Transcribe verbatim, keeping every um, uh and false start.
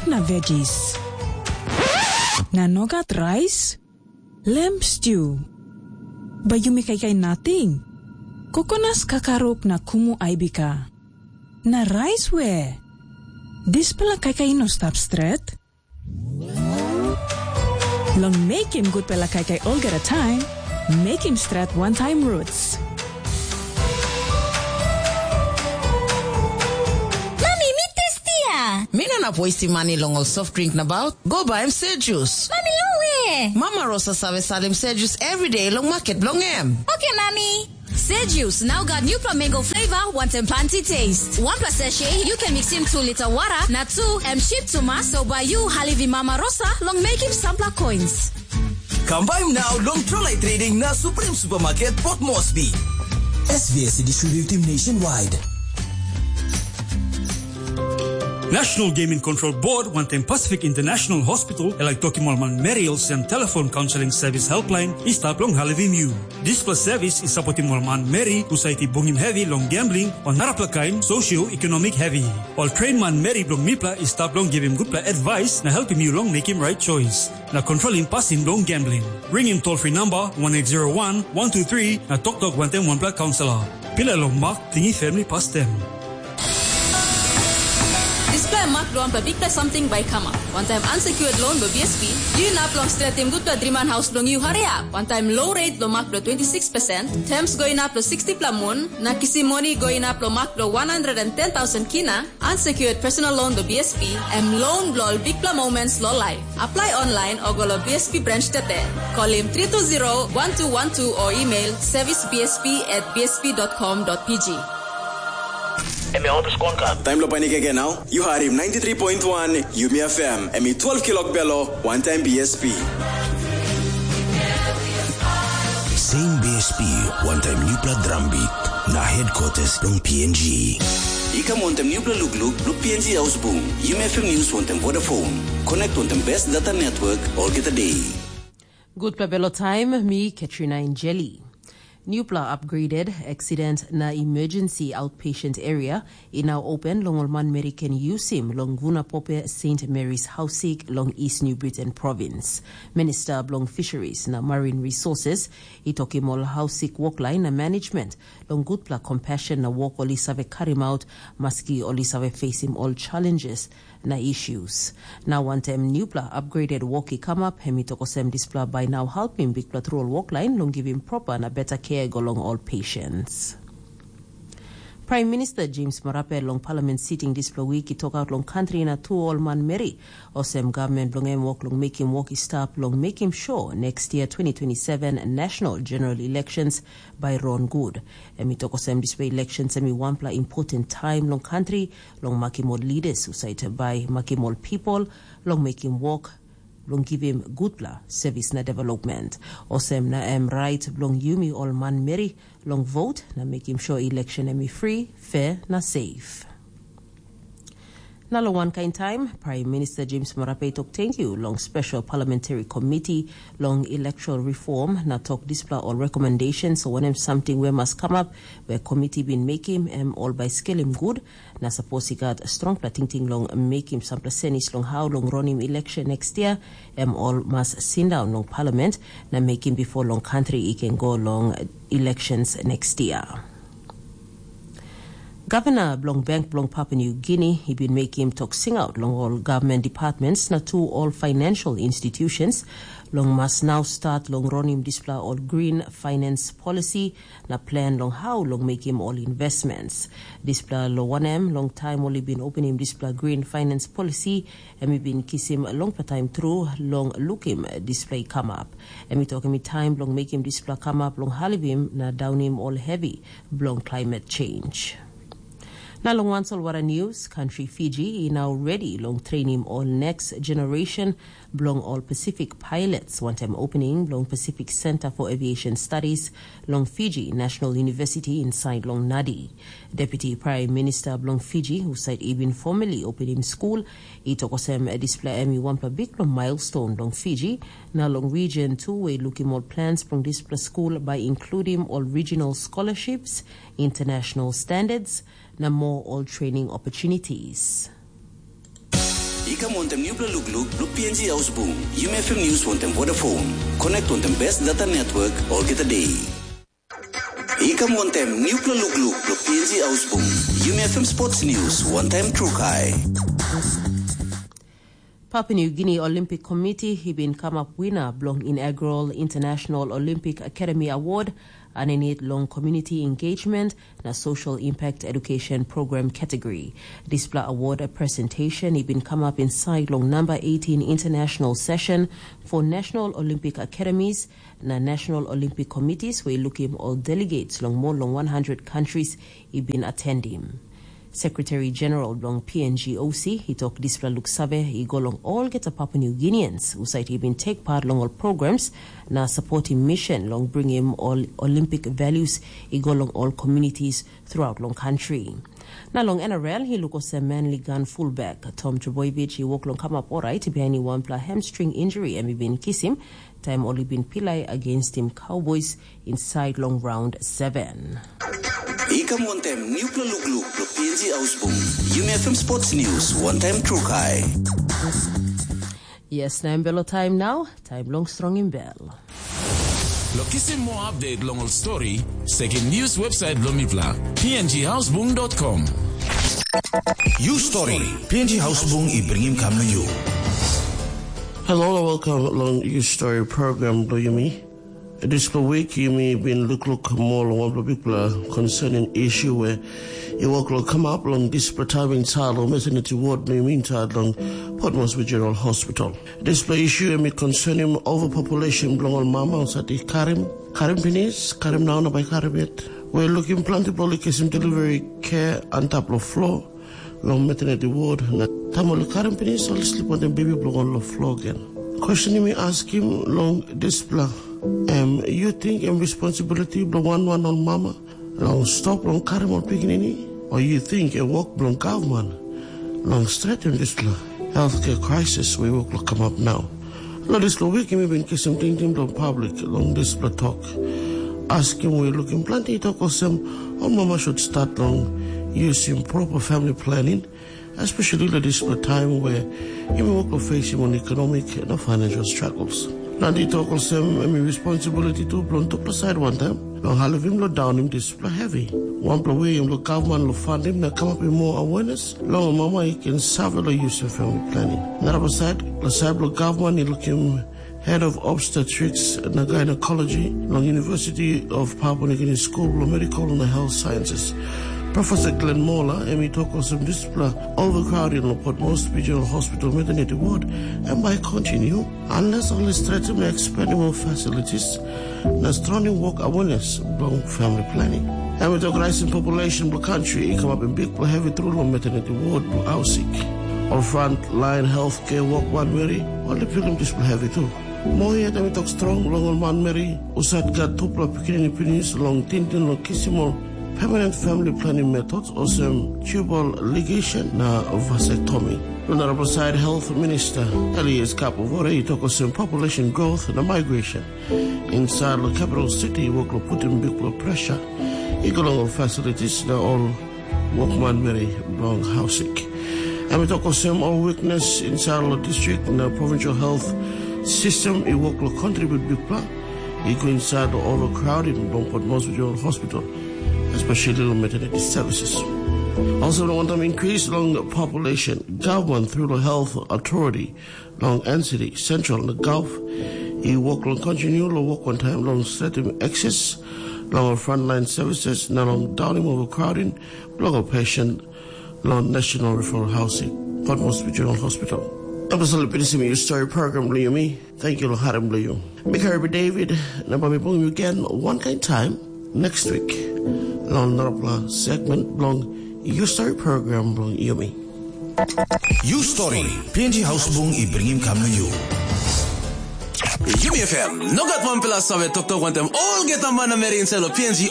na veggies. Na nogat rais, lamb stew. Bai yumi kaikai nating. Kokonas kakaruk na kumu aibika. Na rais we? Dispela kaikai i no stap stret. Long mekim gutpela kaikai olgeta taim, mekim stret wantaim roots. Mami, mi testia! Mi no inap wastim mani long ol soft drink nabaut. Go baim Sejus. Mami, long we? Mama Rosa save salim Sejus everyday long market bilong em. Oke, Mami. Sejus, now got new mango flavor, wantaim planti taste. One plus sachet, you can mix in two liter water, na two, em cheap to mas, so by you, Halivi Mama Rosa, long making sampler coins. Kam baim now long Trolai Trading na Supreme Supermarket Port Moresby. S V S distributing nationwide. National Gaming Control Board wantaim Pacific International Hospital e laik tokim ol manmeri olsem telefon kaunseling sevis helpline i stap long helpim yu. Dispela sevis i sapotim ol manmeri husat i bungim hevi long gambling o narapela kain socio-economic hevi. Ol train manmeri bilong mipela i stap long givim gutpela advice na helpim yu long mekim right choice na kontrolim pasin bilong gambling. Ringim toll free number one eight zero one one two three na toktok wantaim wanpela kaunselor. Pila long mak tingi family pastem. Dispela mak bilong wanpela bikpela samting bai i kamap. Wantaim unsecured loan bilong B S P, yu inap long stretim gutpela driman haus bilong yu hariap. Wantaim low rate bilong mak bilong twenty six percent, terms go inap long sixty pela mun, na kisim moni go inap long mak bilong one hundred and ten thousand kina, unsecured personal loan bilong B S P, em loan bilong ol bikpela moments long life. Apply online o go long B S P branch tete. Kolim three two zero one two one two o email service B S P at B S P dot com dot P G. Em ya otus konka. Taim lo panik ege nau, yu harim ninety three point one Yumi F M, em i twelve kilok belo, wantaim B S P. Same B S P, wantaim nupla drum beat, na headquarters long P N G. I kam wantaim nupla lukluk, luk P N G ausbung, Yumi F M News wantaim Vodafone. Connect wantaim best data network, olgeta day. Gutpela belo taim, mi Katrina Injeli. Nupla upgraded accident na emergency outpatient area i nau open long ol manmeri ken yusim long Vuna Pope Saint Mary's Hausik long East New Britain Province. Minister bilong Fisheries na Marine Resources i tokim ol hausik woklain na management long gutpela compassion na wok ol i save karim aut, maski ol i save facing ol challenges na issues. Na wantaim nupla upgraded wok i kamap, em i tok olsem dispela bai nau helpim bikpela tru ol woklain long givim proper na better care go long ol patients. Prime Minister James Marape long Parliament sitting dispela week i tokaut long country na tu ol manmeri, olsem government bilong em wok long mekim wok i stap long mekim sure next year twenty twenty-seven national general elections bai run good. Em i tok olsem dispela elections em i wanpela important time long country, long makim ol leaders husat bai makim ol people long mekim wok long givim gutpela service na development. Olsem na em right bilong yumi ol manmeri long vote na mekim sure election em i free, fair na safe. Na long wankain taim, Prime Minister James Marape i tok tenkyu long Special Parliamentary Committee long Electoral Reform na tok dispela ol recommendations o wanem samting we mas kamap we committee bin mekim em ol bai skelim gut, na sapos i gat strongpela tingting long mekim sampela senis long hau long ronim election next year, em ol mas sindaun long parliament na mekim bipo long country i ken go long elections next year. Gavana bilong Bank bilong Papua New Guinea i bin mekim tok singaut long ol government departments na tu ol financial institutions long mas nau start long ronim dispela ol green finance policy na plan long hau long mekim ol investments. Dispela lo wanem, long taim ol i bin openim dispela green finance policy, em i bin kisim longpela taim tru long lukim dispela i kamap. Em i tok em i taim bilong mekim dispela kamap long halivim na daunim ol hevi bilong climate change. Na long wan solwara news, country Fiji i now ready long training all next generation bilong ol Pacific pilots wantaim opening bilong Pacific Center for Aviation Studies long Fiji National University inside long Nadi. Deputy Prime Minister bilong Fiji, husat i bin formally opening school, i tok olsem dispela em i wanpela bikpela milestone long Fiji, na long region tu we i lukim ol plans bilong dispela school by including all regional scholarships, international standards, na more all training opportunities. I kam wantem nupela lukluk bilong P N G Hausbung, Yumi F M News wantem Vodafone. Connect wantem best data network olgeta day. I kam wantem nupela lukluk bilong P N G Hausbung, Yumi F M Sports News wantem Trukai. Papua New Guinea Olympic Committee i bin kamap wina bilong inaugural International Olympic Academy Award aninit long Community Engagement na Social Impact Education Program category. Dispela award presentation i bin kamap inside long number eighteen international session for National Olympic Academies na National Olympic Committees, where i lukim ol delegates long more long one hundred countries i bin atendim. Secretary General bilong P N G O C i tok dispela luksave i go long olgeta Papua New Guineans husat i bin take part long ol programs na supportim mission long bringim ol Olympic values i go long ol communities throughout long country. Na long N R L i luk olsem manly gun fullback Tom Trebojevic i wok long kamap orait bihainim wanpela hamstring injury em i bin kisim taim ol i bin pilai againstim Cowboys insait long raun seven. I kam wantem nupela lukluk bilong P N G Hausbung, Yumi F M Sports News wantem Trukai. Yes, na em belo taim nau, taim long strongim bel. Lo kisim moa update long ol stori, sekim news website bilong mipela, P N G Hausbung dot com. You Story, P N G Hausbung i bringim kam na you. Hello, welcome along You Story program bilong yumi. Dispela wik yumi bin lukluk moa long wanpela bikpela concerning issue we i wok long kamap long dispela taim insait long maternity ward bilong yumi insait long Port Moresby General Hospital. Dispela issue em i concerning overpopulation bilong ol mama husat i karim, karim pinis, karim nau na bai karim yet. We lukim planti ol i kisim delivery care antap long floor long maternity ward, na taim ol i karim pinis, ol i slip wantaim bebi bilong ol long floor gen. Question mi askim long dispela, em yu ting em responsibility bilong wan wan ol mama long stop long karim ol pikinini, o yu ting em wok bilong gavman long stretim dispela healthcare crisis we wok long kamap nau? Long dispela wik mi bin kisim tingting bilong public long dispela tok. Askim we lukim planti i tok olsem, ol mama should start long yusim proper family planning, especially long dispela taim we yumi wok long facing ol economic na financial struggles. Planti tok olsem, em i responsibility tu bilong tupela side wantaim long helpim long daunim dispela heavy. Wanpela we em long gavman long fandim na kamapim moa awareness long ol mama i ken save long yusim family planning. Narapela side, long side bilong gavman i lukim head of obstetrics na gynecology long University of Papua New Guinea School bilong Medical na Health Sciences, Professor Glenn Moller, em i tok olsem dispela overcrowding long Port Moresby General Hospital maternity ward, em bai continue unless ol i stretim na expanding ol facilities na strongim wok awareness bilong family planning. Em i tok rising population bilong country i kamapim bikpela heavy tru long maternity ward bilong Ausik. Ol frontline healthcare wokman meri ol i pilim dispela heavy tu. Moa yet em i tok strong long ol manmeri husat gat tupela pikinini pinis long tingting long kisim ol permanent family planning methods olsem tubal ligation na vasectomy. Long narapela side, Health Minister Elias Kapavore i tok olsem population growth na migration inside long capital city i wok long putim bikpela pressure i go long ol facilities na ol wokman meri bilong Hausik. Em i tok olsem ol weakness inside long district na provincial health system i wok long contribute bikpela i go inside long overcrowding bilong Port Moresby General Hospital, especially long maternity services. Also, long wantam increase long population, government through long health authority long N C D, Central na Gulf, i wok long continue long wok wantaim long stretim access long ol frontline services na long daunim overcrowding bilong ol patient long National Referral Housing, Port Moresby General Hospital. Em tasol i pinisim yu story program bilong yumi. Thank you long harim bilong yu. Mi Karibi David, na bai mi bungim yu gen wankain taim next week long narapela segment bilong yu story program bilong yumi. You Story, P N G Hausbung i bringim kam na you. Yumi F M, no gat wanpela save toktok wantaim olgeta manameri inside lo P N G